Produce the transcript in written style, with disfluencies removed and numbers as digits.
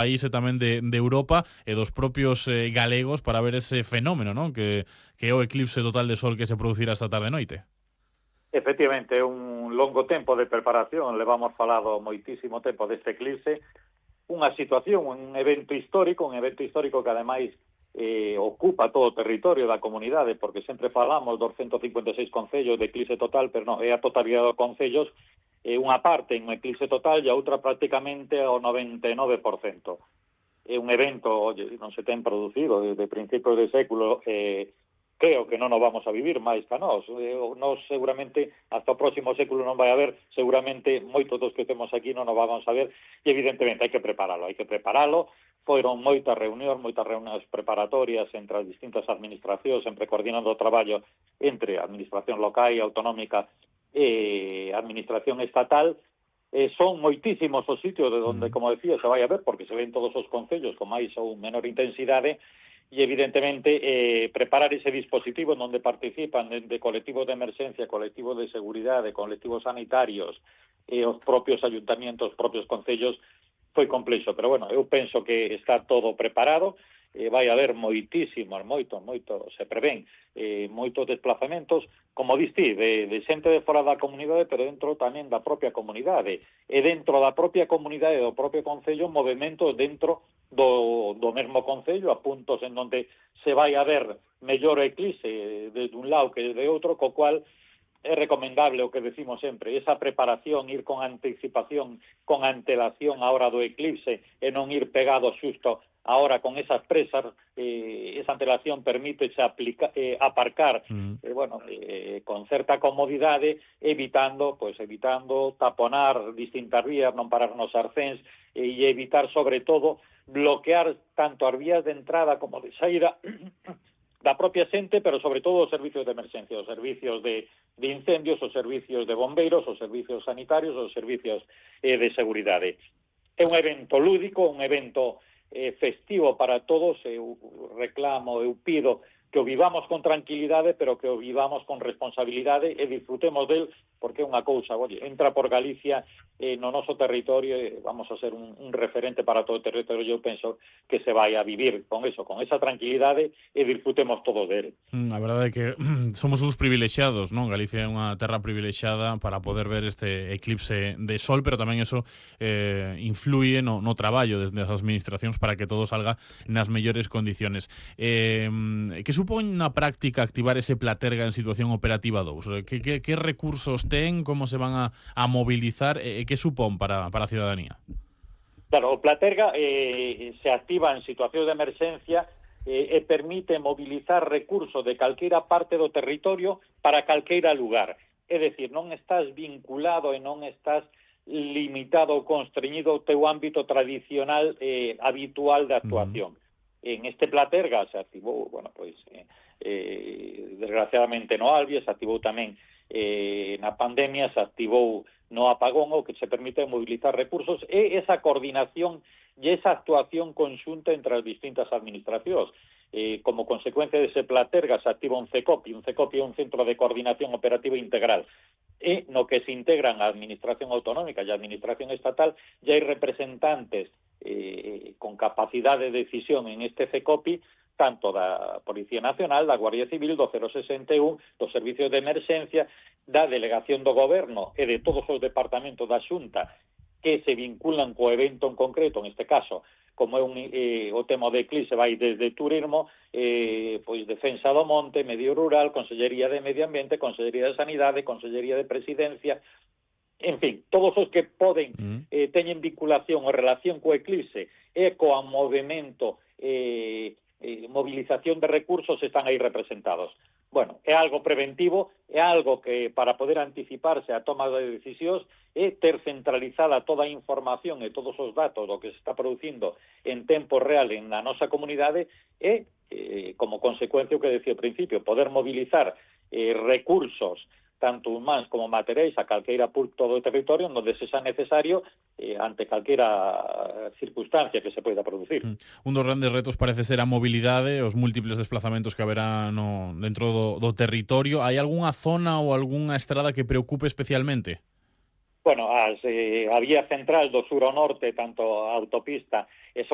países tamén de Europa e dos propios galegos para ver ese fenómeno, non? Que é o eclipse total de sol que se producirá esta tarde noite. Efectivamente, é un longo tempo de preparación, levamos falado moitísimo tempo deste eclipse, unha situación, un evento histórico que ademais ocupa todo o territorio da comunidade, porque sempre falamos dos 156 concellos de eclipse total, pero non, é a totalidade dos concellos, unha parte en eclipse total e a outra prácticamente ao 99%. É un evento, oye, non se ten producido desde principios de século, creo que non nos vamos a vivir máis que nós. Nós seguramente hasta o próximo século non vai haber, seguramente moitos dos que temos aquí non nos vamos a ver, e evidentemente hai que preparalo. Foron moitas reunións preparatorias entre as distintas administracións, sempre coordinando o traballo entre a administración local e autonómica e a administración estatal. Son moitísimos os sitios de onde, como decía, se vai a ver, porque se ven todos os concellos con máis ou menor intensidade, e evidentemente preparar ese dispositivo onde participan de colectivos de emerxencia, colectivos de seguridade, colectivos sanitarios, os propios ayuntamientos, os propios concellos, foi complexo, pero bueno, eu penso que está todo preparado, vai haber moito, se prevén moitos desplazamentos, como diste, de xente de fora da comunidade, pero dentro tamén da propia comunidade, e dentro da propia comunidade do propio concello, movimentos dentro do mesmo concello, a puntos en donde se vai a ver mellor o eclipse de un lado que de outro, co cual é recomendable o que decimos sempre, esa preparación, ir con anticipación, con antelación a hora do eclipse e non ir pegado xusto ahora con esas presas, esa antelación permite aparcar con certa comodidade, evitando taponar distintas vías, non parar nos arcéns e evitar sobre todo bloquear tanto as vías de entrada como de saída da propia xente, pero sobre todo os servicios de emerxencia, os servicios de incendios, os servicios de bombeiros, os servicios sanitarios, os servicios de seguridade. É un evento lúdico, un evento festivo para todos. Eu reclamo, eu pido que o vivamos con tranquilidade, pero que o vivamos con responsabilidade e disfrutemos del, porque é unha cousa, oye, entra por Galicia no noso territorio, vamos a ser un referente para todo o territorio. Eu penso que se vai a vivir con eso, con esa tranquilidade, e disfrutemos todos dele. A verdade é que somos uns privilexiados, non? Galicia é unha terra privilexiada para poder ver este eclipse de sol, pero tamén eso influye no traballo desde as administracións para que todo salga nas mellores condiciones. Que supón na práctica activar ese Platerga en situación operativa 2? Que recursos ten, como se van a mobilizar, e que supón para a ciudadanía? Claro, o Platerga se activa en situacións de emerxencia e permite mobilizar recursos de calqueira parte do territorio para calqueira lugar. É dicir, non estás vinculado e non estás limitado ou constreñido ao teu ámbito tradicional habitual de actuación. En este Platerga se activou, desgraciadamente no Alvia, se activou tamén na pandemia, se activou no apagón, o que se permite mobilizar recursos e esa coordinación e esa actuación conxunta entre as distintas administracións. Como consecuencia dese Platerga se activa un CECOPI. Un CECOPI é un Centro de Coordinación Operativa Integral, e no que se integran a Administración Autonómica e a Administración Estatal, e hai representantes con capacidade de decisión en este CECOPI, tanto da Policía Nacional, da Guardia Civil, do 061, dos servicios de emerxencia, da Delegación do Goberno e de todos os departamentos da Xunta que se vinculan co evento en concreto, en este caso, como é o tema de eclipse, vai desde turismo, defensa do monte, medio rural, Consellería de Medio Ambiente, Consellería de Sanidade, Consellería de Presidencia, en fin, todos os que poden teñen vinculación ou relación co eclipse e coa movimento movilización de recursos están aí representados. Bueno, é algo preventivo, é algo que para poder anticiparse a toma de decisións e ter centralizada toda a información e todos os datos do que se está producindo en tempo real na nosa comunidade e, como consecuencia, o que decía ao principio, poder mobilizar recursos tanto humanos como materiais a calqueira punto do territorio onde se xa necesario ante calqueira circunstancia que se poida producir. Un dos grandes retos parece ser a mobilidade, os múltiples desplazamentos que haberá dentro do territorio. Hai algunha zona ou algunha estrada que preocupe especialmente? Bueno, a vía central do sur ao norte, tanto a autopista e